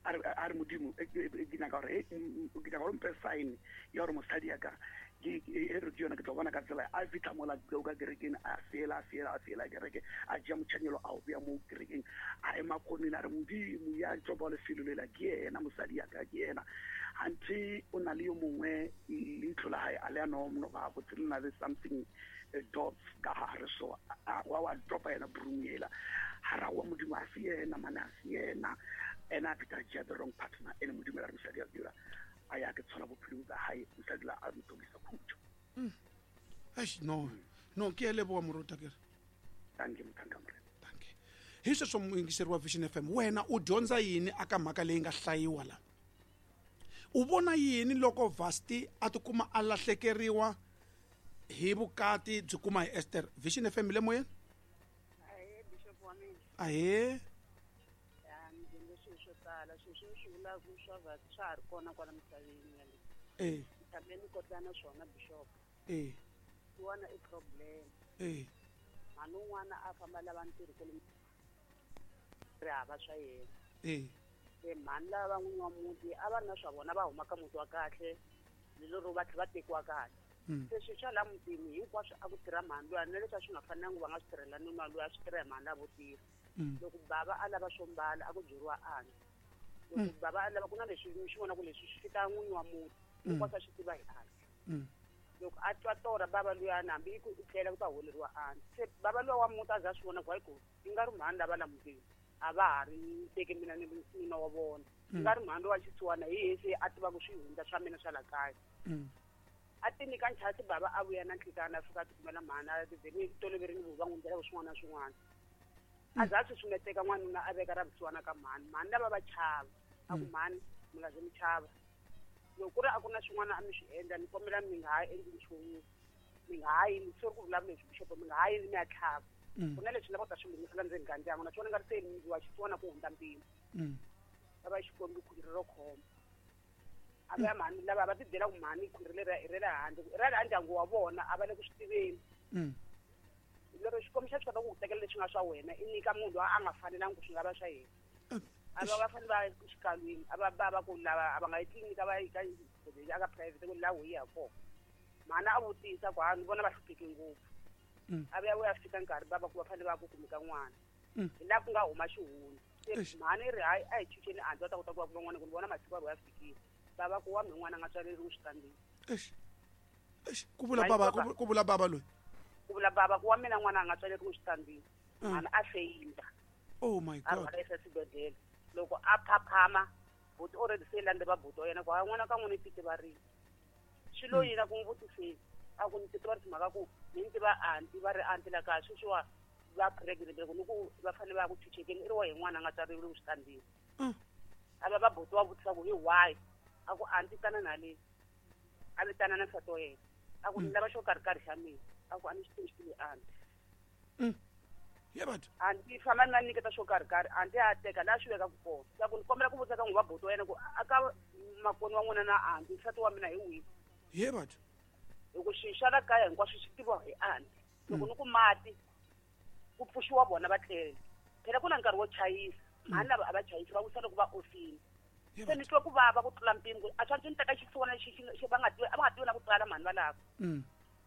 a re a re modimo ke nyaka gore ke nyaka gore mpe sign ya gore mosadi ya ka ke e re ke yona ke tlo bona ka tsela a fitlha mola ka kerekeng a fela a fela a fela kereke a jea motšhanyelo a o bea mo kerekeng a ema kgoneng a re modimo ya tsopa lefelo lela ke yena mosadi ya ka ke yena ante o na le yo mongwe leitlho la hae a le ano no ba botse le na le something dots ka gare so wa wa dropa yena broom yela ha ra wa modimo a se yena mana a se yena ena a feta jea the wrong partner ene modimo la re mosadi ya dira a ya ke tshola bophelo ba hae mosadi la a mo tokisa khutšo. Eish no no ke leboga moruta ke re thank you mothanka morena thank you hi sweswo muyingiseri wa Vision F M wena u dyondza yini aka mhaka leyi nga hlayiwa la u vona yini loko Vasti a tikuma a lahlekeriwa hi vukati byi kuma hi Esther. Vision F M le moyeni. Ahee bishop wa mina. Ahee. Ya ni dyondze swilo swo tala, swilo swi swi vulaka swa va swa ha ri kona kwala misaveni ya le. Eh. Tshame ni kotlana swona bishop. Eh. Tiwana i problem. Eh. Mhani un'wana a famba lava ntirho kwale ri hava swa yena. Eh. Se mhani lava va n'winyi wa muti a va ri na swa vona va huma ka muti wa kahle lero va tlhela va tekiwa kahle. Se swilo swa laha mutini hinkwaswo a ku tirha mhani luya na leswi a swi nga fanelanga va nga swi tirhela nuna luya a swi tirha hi mhani lavo tirha. Loko bava a lava swo mbala a ku byeriwa ana. Loko bava a lava ku na leswi swi vona ku leswi swi fika n'winyi wa muti hinkwaswo a swi tiva hi ana. Loko a twa torha bava luyani hambi ku tlela ku ta holeriwa ana. Se bava luya wa muti a za a swi vona ku hayi ku i nga ri mhani lava la mutini a va ha ri teki mina ni nuna wa vona. I nga ri mhani wa xisiwana hi yena se a tivaka swihundla swa mina swa la kaya. A ti nyika nchasi bava a vuya na nhlikana a fika a tikumela mhani a ti toloverini ku va n'wi ndlela swin'wana na swin'wana. A za a susumeteka n'wanuna a veka ra vusiwana ka mhani. Mhani lava va chava a ku mhani mi nga ze mi chava. Loko ku ri a ku na swin'wana a mi swi endla ni kombela mi nga ha endli nchumu, mi nga ha yimi sori ku vulavula leswi bishop, mi nga ha yimi mi ya tlhava. Ku na leswi lava ku ta swi lunghisela ndzeni ka ndyangu naswona nga ri se mi wa xisiwana ku hundza mpimo. Va va xikwembu khwiri ro khoma. A va ya mhani lava va ti byela ku mhani khwiri leri i ra le handle, i ra le ndyangu wa vona a va le ku swi tiveni. Lero xikwembu xa swi kota ku ku tekela leswi nga swa wena i nyika munhu loyi a nga fanelanga ku swi nga va swa yena. A va va fanele va ya exikalwini a va va va ku lava a va nga yi tliliniki va yi ka xibedhlele ka private ku laha hi ya kona. Mhani a vutisa ku ha ni vona va hlupheke ngopfu. A vuya vuya fika nkarhi bava ku va fanele va ku kumeka n'wana. Hi laha ku nga huma xihundla. Se mhani i ri hayi a hi chucheni a ndzi va ta kota ku va kuma n'wana ku ni vona masiku ya fikile. Bava ku wa mi n'wana a nga tswaleriwi xitandini. Eish. Eish, ku vula baba ku vula baba loyi. Ku vula baba ku wa mina n'wana a nga tswaleriwi xitandini. Mhani a feyinda. Oh my God. A rhwala exibedhlele. Loko a phaphama buti already se landze va buti wa yena ku hayi n'wana ka n'wina i titivarile. Swi lo yini a ku n'wi vutiseni a ku ni titivarisa mhaka ku ni ni tiva anti va ri anti la kaya sweswiwa va pregnant loko ni ku va fanele va ya ku chuchekeni i ri wa hi n'wana a nga tswaleriwi xitandini. A va va buti wa vutisa ku hi why a ku anti tana na le a vitana na nsati wa yena a ku ni lava xo karhi karhi xa mina a ku a ni xi tivi xi tivi anti. Ye batho. Anti famba na nyiketa xo karhi karhi anti a teka laha swi vekaka kona. Sa ku ni kombela ku vutisa ka n'wi va buti wa yena ku a ka makoni wa n'wina na anti nsati wa mina hi wihi. Ye batho. Hi ku xi xa la kaya hinkwaswo swi tiviwa hi anti. Loko ni ku mati ku pfuxiwa vona va tlele. Phela ku na nkarhi wo chayisa. Mhani lava a va chayisi va wisa loko va ofini. Se ni twa ku vava ku tlula mpimo a swi ni teka xisiwana xi xi va nga tivi a va nga tivi na ku tsala mhani valava.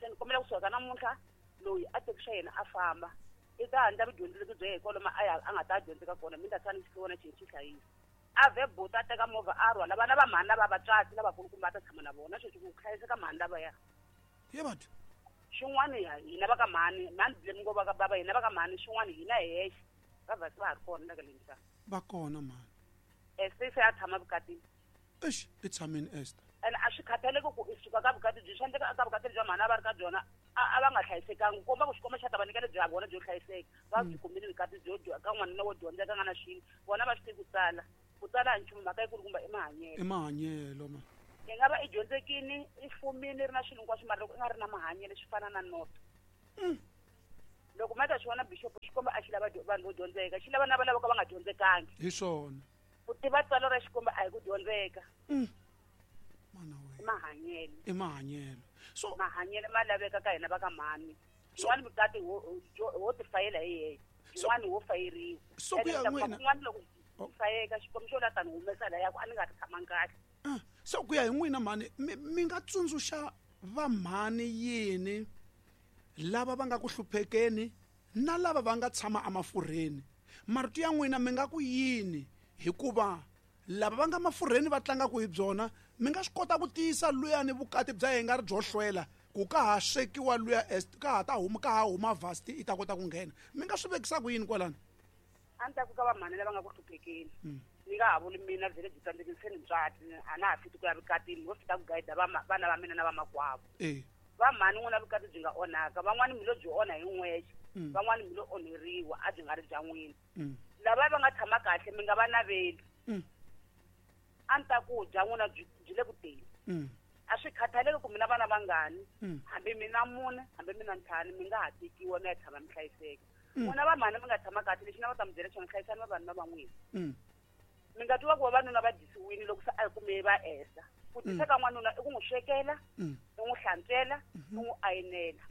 Se ni kombela kusuka namuntlha loyi a teki swa yena a famba. I ta handla vudyondzeki bya yena kwalomu a ya a nga ta dyondzeka kona mi ta tshama xisiwana xi xi hlayisa. A vhe buti a teka movha a rhwala vana va mhani lava vatswatsi lavakulukumba a ta tshama na vona sweswi ku hlayiseka mhani lavaya. Ye batho. Xin'wana hina va ka mhani mhani blame ngo va ka bava hina va ka mhani xin'wana hina hi hexe va vhasi va ha ri kona la ka le misava. Va kona mhani. Esther se a tshama vukatini. Eish, i tshamini Esther. Ene a swi khathaleki ku i suka ka vukati byi swi endleka ka vukati bya mhani a va ri ka byona a va nga hlayisekanga komba ku xikomba xa ta va nyika lebyi ha vona byo hlayiseka va byi kumile vukati byo ka n'wanuna wo dyondzeka nga na xilo vona va swi tivi ku tsala ku tsala a nchumu mhaka yikulukumba i mahanyelo. I mahanyelo ma. I nga va i dyondzekini i fumile ri na swilo hinkwaswo mara loko i nga ri na mahanyelo swi fana na noto. Loko ma ta swi vona bishop xikomba a xi lava vanhu vo dyondzeka xi lava na va lava ka va nga dyondzekangi. Hi swona. Ku tiva tsalo ra xikomba a hi ku dyondzeka. Mana we. I mahanyelo. I mahanyelo. So mahanyelo ma laveka ka hina va ka mhani. Xin'wana vukati ho ho ti fayela hi yexe. Xin'wana ho fayeriwa. So ku ya n'wina. Xin'wana loko fayeka xikomba xo la tani humesa la ya ku a ni nga ri tshamangi kahle. So ku ya hi n'wina mhani mi nga tsundzuxa va mhani yini lava va nga ku hluphekeni na lava va nga tshama emafurheni. Marito ya n'wina mi nga ku yini hikuva lava va nga mafurheni va tlangaka hi byona mi nga swi kota ku tiyisa luyani vukati bya yena nga ri byo hlwela ku ka ha swekiwa luya ka ha ta huma ka ha huma vasti i ta kota ku nghena mi nga swi vekisa ku yini kwalano. A ni ta ku ka va mhani lava nga ku hluphekeni ni nga ha vuli mina vhele byi tsandzekile se ni ntswati a na ha fiti ku ya vukatini ho fita ku gayida vana va mina na vamakwavo. Va mhani n'wina vukati byi nga onhaka van'wani mi lo byi onha hi n'wexe van'wani mi lo onheriwa a byi nga ri bya n'wina. Lava va nga tshama kahle mi nga va naveli. A ni ta ku bya n'wina byi le ku teni. A swi khathaleki ku mina vana vangani hambi mina mune hambi mina ntlhanu mi nga ha tekiwa mi ya tshama mi hlayiseka n'wina va mhani mi nga tshama kahle lexi na va ta mi byela xona hlayisani vavanuna va n'wina mi nga twiwa ku vavanuna va dyisiwile loko se a hi kume va esa ku dyisa ka n'wanuna i ku n'wi swekela i n'wi hlantswela i n'wi ayinela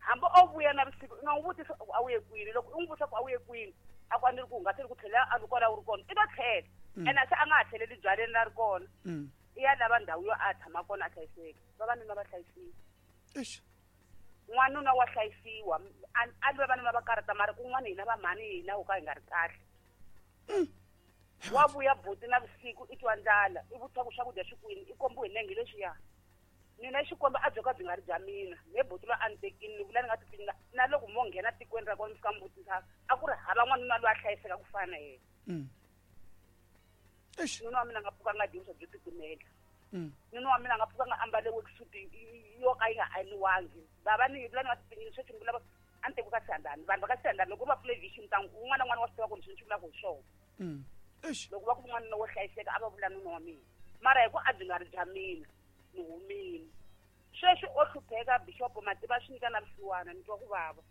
hambi o vuya na vusiku i nga n'wi vutisa ku a wu ye kwini loko u n'wi vutisa ku a wu ye kwini a ku a ni ri ku hungaseni ku tlhela a ri kwala wu ri kona i ta tlhela ene se a nga ha tlheleli byaleni la ri kona i ya lava ndhawu yo a tshama kona a hlayiseka vavanuna va hlayisiwa n'wanuna wa hlayisiwa a li vavanuna va karata mara kun'wana hina vamhani hina ho ka hi nga ri kahle wa vuya buti na vusiku i twa ndlala i vutisa ku swakudya swi kwini i kombiwe hi nenge leswiya mina xikombo a byo ka byi nga ri bya mina me buti loyi a ni tekini ni vula ni nga tipinga na loko mo nghena tikweni ra kona mi fika mi vutisa a ku ri hava n'wanuna loyi a hlayiseka ku fana na yena nuna wa mina nga pfuka nga dyi vuswa byo titimela nuna wa mina nga pfuka nga ambale worksuit yo ka yi nga ayiniwangi bava ni vula ni nga tipingini sweswi ni vula a ni tekiwi ka Siyandhani vanhu va ka Siyandhani loko va pfule vision ta un'wana na un'wana wa swi tiva ku ni swi vulaka hi swona loko va ku n'wanuna wo hlayiseka a va vula nuna wa mina mara hi ku a byi nga ri bya mina ni humile sweswi o hlupheka bishop mativa swi nyika na vusiwana ni twa ku vava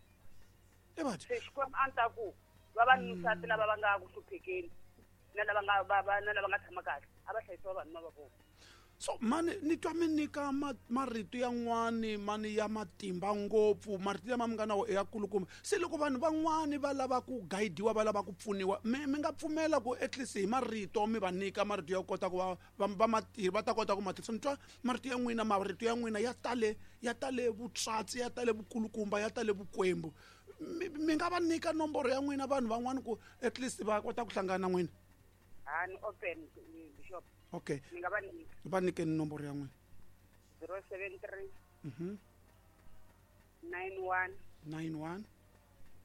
se Xikwembu a ni ta ku vavanusati lava va nga ku hluphekeni na lava nga va va na lava nga tshama kahle a va hlayisiwa vanhu va vona so mani ni twa mi nyika marito yan'wani mani ya matimba ngopfu marito lama mi nga na wo ya kulukumba se loko vanhu van'wani va lava ku guidiwa va lava ku pfuniwa mi mi nga pfumela ku at least hi marito mi va nyika marito ya kota ku va va matirhi va ta kota ku ma tirhisa ni twa marito ya n'wina marito ya n'wina ya tale ya tale vutswatsi ya tale vukulukumba ya tale vukwembu mi nga va nyika nomboro ya n'wina vanhu van'wani ku at least va kota ku hlangana na n'wina ha ni open bishop okay ni nga va nyika va nyikeni nomboro ya n'wina zero seven three mhm nine one nine one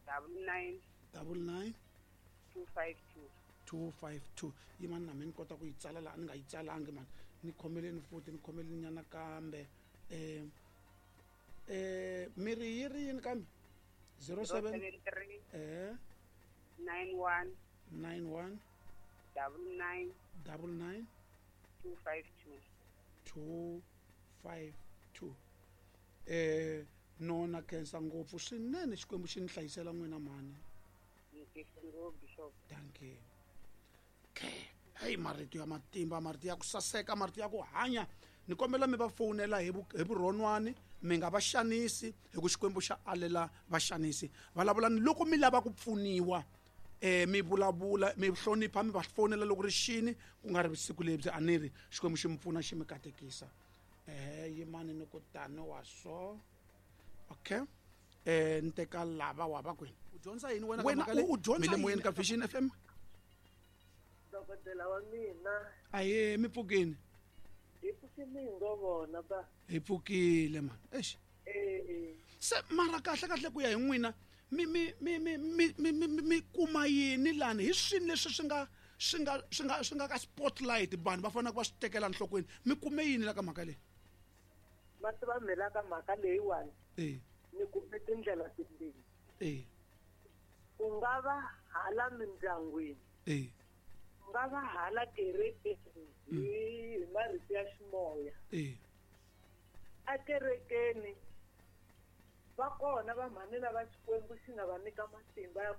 double nine double nine two five two two five two yimani na mina ni kota ku yi tsala laha ni nga yi tsalangi mani ni khomeleni futhi ni khomeleni nyana kambe eh eh miri yi ri yini kambe zero seven three eh nine one nine one double nine double nine two five two two five two eh nona khensa ngopfu swinene Xikwembu xi ni hlayisela n'wina mhani thank you okay hey marito ya matimba marito ya ku saseka marito ya ku hanya ni kombela mi va fonela hi hi vurhonwani mi nga va xanisi hi ku Xikwembu xa alela vaxanisi vulavulani loko mi lava ku pfuniwa eh mi vulavula mi hlonipha mi va fonela loko ri xini ku nga ri vusiku lebyi a ni ri Xikwembu xi mi pfuna xi mi katekisa eh yimani ni ku tani wa so okay eh ni teka lava wa va kwini u dyondza yini wena wena u dyondza mi le moyeni ka Vision F M dokodela wa mina aye mi pfukini hi pfukile hi ngo vona ba hi pfukile man eish eh se mara kahle kahle ku ya hi n'wina mi mi mi mi mi mi mi kuma yini lani hi swini leswi swi nga swi nga swi nga swi nga ka spotlight vanhu va fanele va swi tekela enhlokweni mi kume yini la ka mhaka leyi va tiva mhela ka mhaka leyiwani eh ni kume tindlela timbirhi eh ku nga va hala mindyangwini eh ku nga va hala kerekeni hi marito ya ximoya eh a kerekeni va kona vamhani lava Xikwembu xi nga va nyika matimba ya